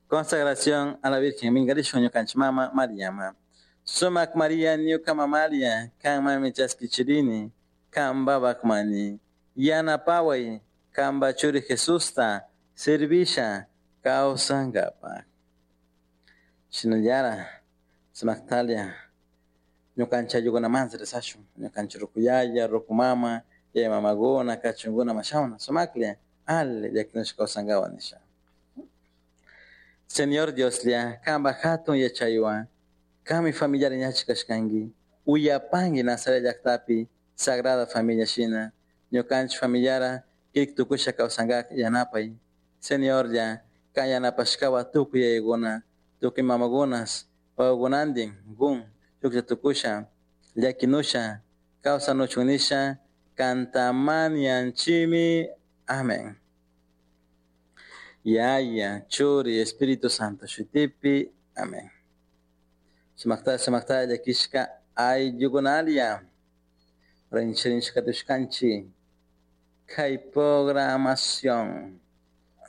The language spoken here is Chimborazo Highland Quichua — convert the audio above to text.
Consagración a la Virgen Mingarishun ñukanchik mama Mariama. Sumak Maria ñuka mamalia, kanmanmi chaskichirini, kanpapakmani. Yanapaway, kanpa churi Jesusta, servisha, kawsankapak. Shinallara, sumaktalia, ñukanchik ayllukunamanta rezashun, ñukanchik rukuyaya, rukumama, yaya mamakuna, kachunkuna mashawna, sumaklla, ali llakinushka kawsankapak nisha. Señor Dioslla, kanpak hatun yachaywan, kanmi familiar ñachik kashkanki, uyapanki Nazaret llaktapi, Sagrada Familia shina, ñukanchik familiara kirik tukusha kawsankak yanapay. Señorlla, kan yanapashkawa tukuy yayakuna, tukuy mamakunas, wawakunantin, kun, shuklla tukusha, llakinusha, kawsanuchun nisha, kantamanianchimi. Amén. Yaya, Churi, Espíritu Santo, shutipi. Amén. Sumakta, sumakta, llakishka ayllukunalia. Rinchirinchika tushkanchi. Kay programación.